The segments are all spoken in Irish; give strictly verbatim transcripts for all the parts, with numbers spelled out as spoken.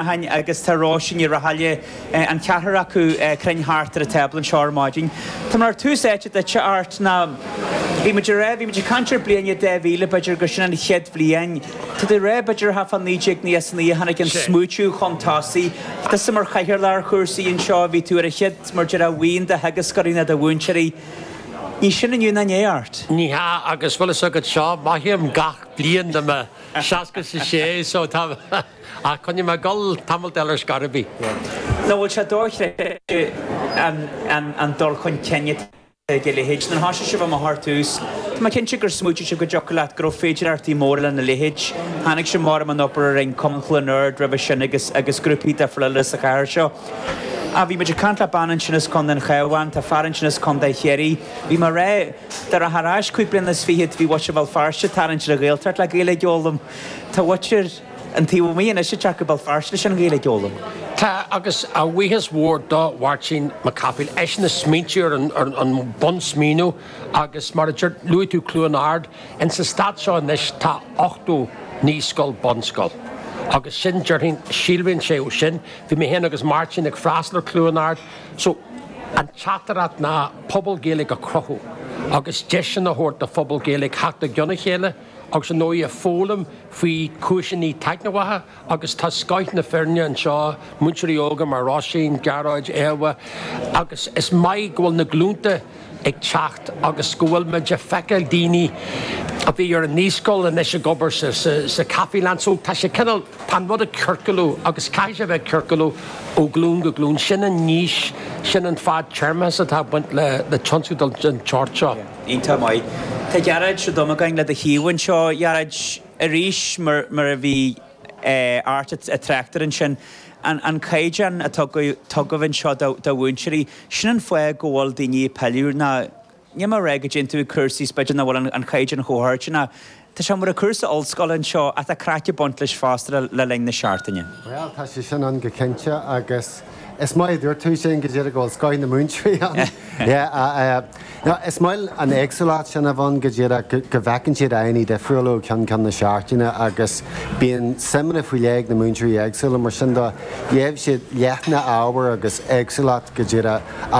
Agus tá Róisín Ní Rathaille, an ceathrar acu cruinn thart ar an tábla anseo ar maidin. Tá mar tús áite duit, Art, ná bhí muid rá, bhí muid ag caint ar bliain dhá mhíle, b'fhéidir gur sin an chéad bhliain. Tá tú rá b'fhéidir thart fá naoi déag nócha naoi a tháinig an smaoitiú chun tosaigh. Tusa mar chathaoirleach ar chúrsaí anseo, bhí tú ar an chéad mar deir bhuíon de theagascóirí nó de mhúinteoirí. Ní sin inniu ná inné, Art. Ní hea, agus bhfuil fhios agat seo, mothaím gach bliain de mo seasca is a sé, so tá ach coinneoidh mé ag dul tamall eile ar scor ar bith. Nó bhfuil sé dochreidte an an dul chun cinn atá ag a leithéid. Nuair a thosaigh sibh amach ar tús, tá mé cinnte gur smaoitigh sibh go dtiocfadh leat go raibh féidearthachtaí móra lena leithéid. Tháinig sibh mar an obair a rinne Cumann Chluain Ard roimhe sin agus agus grúpaí difriúla eile sa chathair seo. A bhí muid ag caint le bean ansin as Contae an Chabháin, tá fear ansin as Contae Chiarraí. Bhí mé rá dar thar ais cúig bliana is fichead bhí muintir Bhéal Feirste tarraingt ar an Ghaeltacht le Gaeilge a fhoghlaim. Tá muintir an taobh amuigh anois ag teacht go Béal Feirste leis an Ghaeilge a fhoghlaim. Tá, agus a bhuíochas mhór do Mháirtín Mac Cathmhaoil, eisean a smaointigh ar an, ar an bunsmaoineamh agus mar a deir luaigh tú Cluain Ard, in sa stát seo anois tá ochtó naíscoil bunscoil. Agus sin déarfainn síolraíonn sé ó sin, bhí mé féin agus Máirtín ag freastal ar Cluain Ard, so an teachtaireacht ná pobal Gaeilge a chruthú agus deiseanna a thabhairt do phobal Gaeilge theacht i gcionn a chéile agus an dóigh a foghlaim faoi chúiseanna taitneamhacha agus tá scoth na foirne anseo, múinteoirí óga mar Róisín, Gearóid, Éabha, agus is maith go bhfuil na glúnta ag teacht agus go bhfuil muid ag feiceáil daoine a bhí ar an naíscoil anois ag obair sa, sa, sa Caffeeland, so tá sé cineál tá an rud ag ciorclú agus caithfidh sé bheith ag ciorclú ó ghlúin go glúin. Sin an fhís, sin an fadtéarmachas atá ag baint le, le tionscadal den tsórt seo. Iontach maith. Tá Gearóid Ó Dubhmagáin le do thaobh anseo, Gearóid, arís mar, mar a bhí eh, Art ag trácht air ansin. An, an caighdeán a tugadh anseo do, do mhúinteoirí, sin an fáth go bhfuil daoine ag pilleadh ná ní mar rá go dtéann tú cúrsaí b'fhéidir nach bhfuil an caighdeán chomh hard ná Tá sé mar a cúrsa ollscoile anseo ach tá craic ag baint leis fosta le, le linn na seachtaine. Well, tá sé sin ann go cinnte agus is maith dúirt tú sin go dtí go bhfuil scoth na múinteoirí ann. Yeah, uh, uh, no, is maith an éagsúlacht sin a bhíonn go dtí go bhfeiceann siad daoine difriúla ó cheann ceann na seachtaine agus bíonn suimeanna faoi leith ag na múinteoirí éagsúla mar sin de gheibh siad leithne ábhar agus éagsúlacht go dtí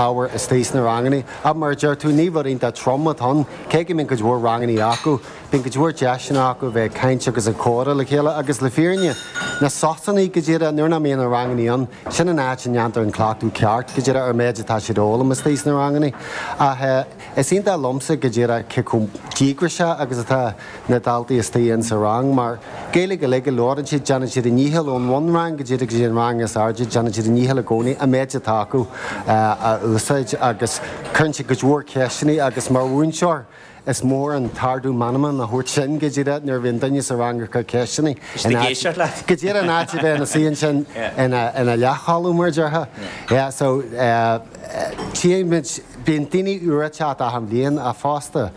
ábhar istigh sna ranganna. Ach mar deir tú ní rud iontach trom atá ann, cé go mbíonn cuid mhór ranganna acu, bíonn cuid mhór deiseanna acu bheith caint agus ag comhrá le chéile agus le fírinne. Na sosanna go dtí nuair nach mbíonn na ranganna ann, sin an áit a ndéantar an cleachtadh ceart go dtí ar méid atá siad fhoghlaim istigh sna ranganna. Ach is iontach liomsa go dtí cé chomh díograiseach agus atá na daltaí istigh in sa rang, mar Gaeilge go le go labhrann siad déanann siad a ndícheall ón bhunrang go dtí go dtí an rang is airde, déanann siad a ndícheall i gcónaí an méid atá acu a úsáid agus cuireann siad cuid mhór ceisteanna agus mar mhúinteoir is mór an t-ardú meanman a thabhairt sin go dtí nuair a bhíonn duine sa rang ag cur ceisteanna. Go dtí an áit a bheith ina suí ansin ina ina leathchodladh mar déarfá. Yeah, so tímid bíonn daoine úra ag teacht achan bhliain a fosta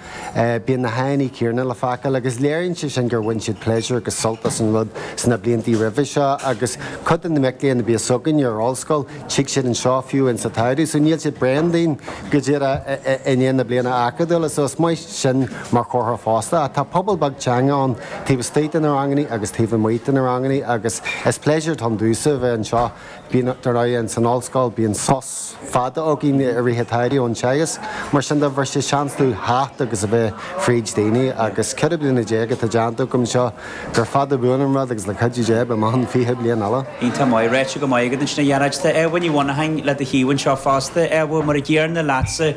bíonn na haghaidheanna céanna le feiceáil agus léiríonn sé sin gur bhain siad pléisiúr agus sult as an rud sna blianta roimhe seo agus cuid de na mic léinn a bhí againn ar ollscoil tig siad anseo fiú in sa tsamhradh, so níl siad bréan dínn go dtí i ndiaidh na bliana acadúla, so is maith sin mar chomhartha fosta. Tá pobal beag teanga ann taobh istigh de na ranganna agus taobh amuigh de na ranganna agus is pléisiúr domsa bheith anseo bíonn dar ndóigh san ollscoil bíonn sos fada againn i rith an tsamhraidh ón teagasc, mar sin de bhí sé seans dom theacht agus a bheith fríd daoine agus ceithre bliana déag atá déanta agam seo gur fada buan an rud agus le cuidiú Dé beidh mé ann fiche bliain eile. Iontach maith ráite go maith agat ansin a Ghearóid. Tá Éabha Ní Mhonacháin le do thaobh anseo fosta. Éabha mar a gcéanna leatsa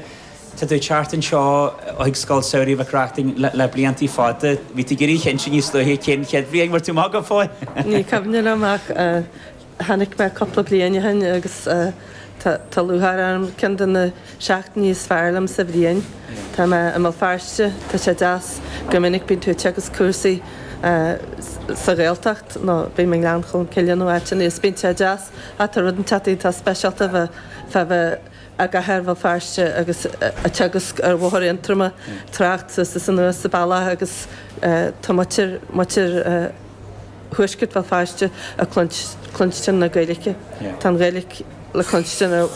Tá tú teacht anseo chuig Scoil Samhraidh Mhic Reachtain le, le blianta fada. Bhí tú ag iarraidh cinnte níos luaithe cén chéad bhliain mar tú maith go fóill. Ní cuimhin liom ach tháinig mé cúpla bliain ó shin agus tá lúcháir orm ceann de na seachtainí is fearr liom sa bhliain. Tá mé i mBéal Feirste, tá sé deas go minic bíonn tú ag teagasc cúrsaí sa Ghaeltacht nó bím i nGleann Cholm Cille nó áiteanna is bíonn sé deas ach tá rud inteacht atá speisialta bheith fá bheith i gcathair Bhéal Feirste agus ag teagasc ar Bhóthar Aontroma trácht suas is anuas sa bealach agus tá muintir muintir thuaisceart Bhéal Feirste ag cluinstin na Gaeilge. Tá an Ghaeilge le cluinstin ar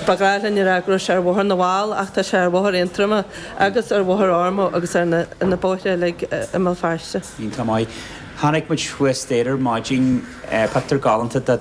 ba ghnách linn a rá go raibh sé ar Bhóthar na bhFál ach tá sé ar Bhóthar Aontroma agus ar Bhóthar Ormeau agus ar na, na bóithre uilig i mBéal Feirste. Iontach maith. Chonaic muid thuas staighre ar maidin pictiúr galánta de